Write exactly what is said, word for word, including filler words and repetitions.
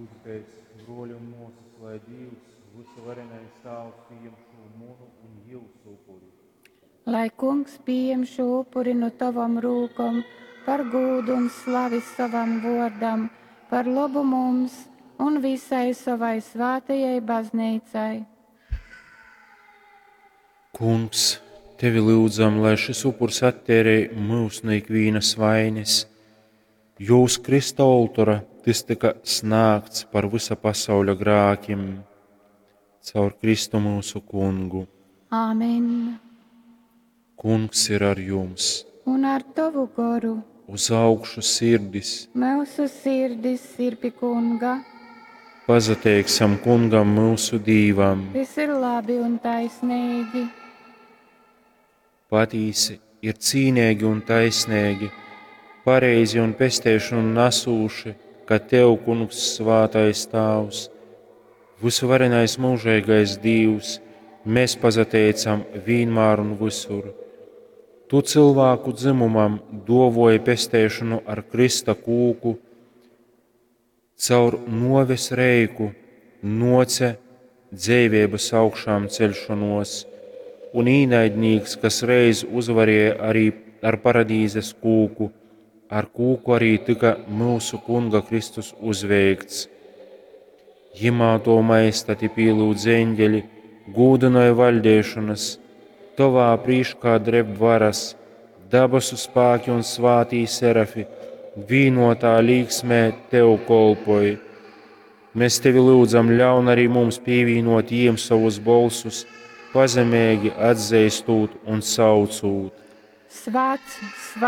Lyudzitēs, bruoļi un muosys, lai Dīvs, vysuvarenais Tāvs, pījem šū munu un jiusu upuri. Lai Kungs pījem šū upuri nu tovom rūkom par gūdu un slavi sovam vuordam, par lobu mums un visai sovai svātajai bazneicai. Kungs, tevi lyudzam, lai šis upurs atteirej myus nu ikvīnas vaines, jo uz Krista oltora tys tyka snāgts par vysa pasauļa grākim. Caur Kristu myusu Kungu. Āmen. Kungs ir ar jums. Un ar tovu goru. Uz augšu sirdis. Myusu sirdis ir pi Kunga. Pasateiksim Kungam myusu Dīvam. Tys ir labi un taisnīgi. Patīsi ir cīneigi un taisneigi, pareizi un pesteišonu nasūši, ka Tev, Kungs, Svātais Tāvs, vysuvarenais mūžeigais Dīvs, mēs pasateicam vīnmār un visur. Tu cilvēku dzimumam duovoji pesteišonu ar Krista kūku, caur nuoves reiku nuoce dzeiveibys augšām ceļšonuos, un īnaidnīks, kas reiz uzvarēja arī ar paradīzes kūku, ar kūku arī tyka myusu Kunga Kristus uzveikts. Jimā to maestati pielūdz eņģeļi, gūdināja vaļdēšanas, tovā prīškā dreb varas, dabasu spēki un svātī serafi, vīnotā līksmē tev kolpoj. Mēs tevi lūdzam, ļaun arī mums pievienot jiem savus bolsus, pazemīgi atzīstot un saucot. Svēts, svēts.